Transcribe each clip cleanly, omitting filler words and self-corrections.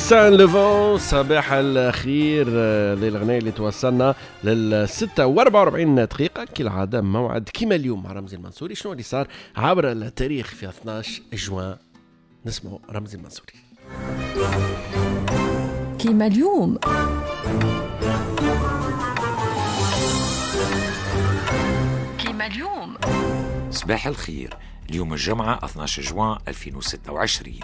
Saint Levant، صباح الخير. هذه الأغنية اللي توصلنا لل 6:44 دقيقة، كالعادة موعد كيما اليوم مع رمزي المنصوري. شنو اللي صار عبر التاريخ في 12 جوان؟ نسمع رمزي المنصوري. كيما اليوم، كيما اليوم. صباح الخير. اليوم الجمعة 12 جوان 2026.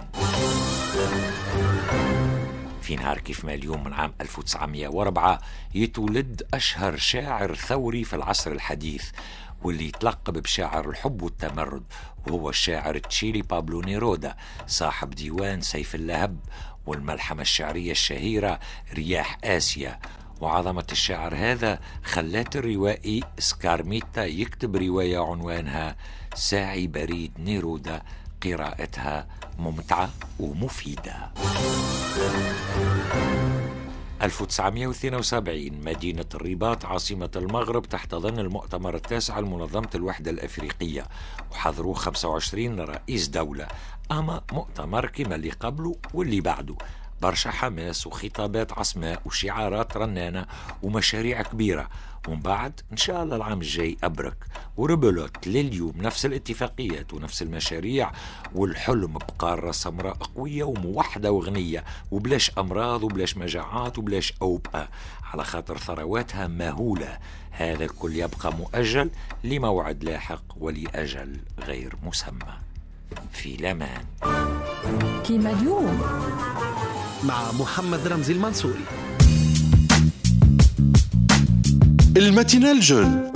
في نهار كيف ما اليوم من عام 1904 يتولد أشهر شاعر ثوري في العصر الحديث، واللي يتلقب بشاعر الحب والتمرد، وهو الشاعر التشيلي بابلو نيرودا، صاحب ديوان سيف اللهب والملحمة الشعرية الشهيرة رياح آسيا. وعظمة الشاعر هذا خلات الروائي سكارميتا يكتب رواية عنوانها ساعي بريد نيرودا، قراءتها ممتعة ومفيدة. 1972 مدينة الرباط عاصمة المغرب تحتضن المؤتمر التاسع لمنظمة الوحدة الأفريقية، وحضروه 25 رئيس دولة. أما مؤتمر كما اللي قبله واللي بعده، برشا حماس وخطابات عصماء وشعارات رنانة ومشاريع كبيرة، ومن بعد إن شاء الله العام الجاي أبرك وربلوت. لليوم نفس الاتفاقيات ونفس المشاريع، والحلم بقارة سمراء قوية وموحدة وغنية، وبلاش أمراض وبلاش مجاعات وبلاش أوبئة، على خاطر ثرواتها مهولة. هذا الكل يبقى مؤجل لموعد لاحق ولأجل غير مسمى. في لمان. كيما اليوم مع محمد رمزي المنصوري. ال matinale jeune.